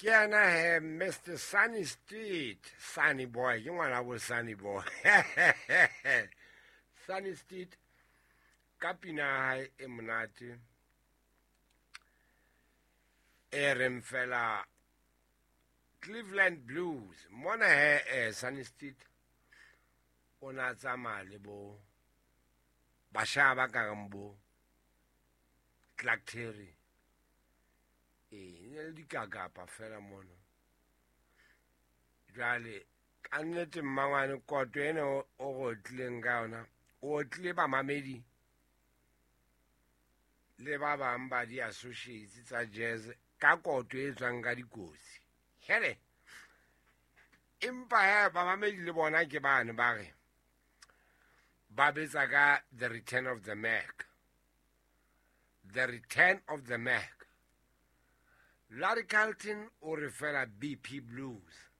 Ke yena he Mr Sunny Street, Sunny Boy, ke ngwana bo Sunny Boy. Sunny Street ka pina ya hae e monate e reng fela Cleveland Blues. Mona he Sunny Street o na tsamaya le bo basha ba kareng bo Clark Terry. Ee, ne le dikakapa fela mono. Jwale ka nnete mmangwane koto ena o re otlileng ka yona, o otlile bamamedi le ba bang ba di-associates tsa jazz ka koto e tswang ka dikotsi. Hele, empa he bamamedi le bona ke bane ba re ba betsa ka The Return of the Mac. The Return of the Mac. Larry Carlton o re fela BP Blues.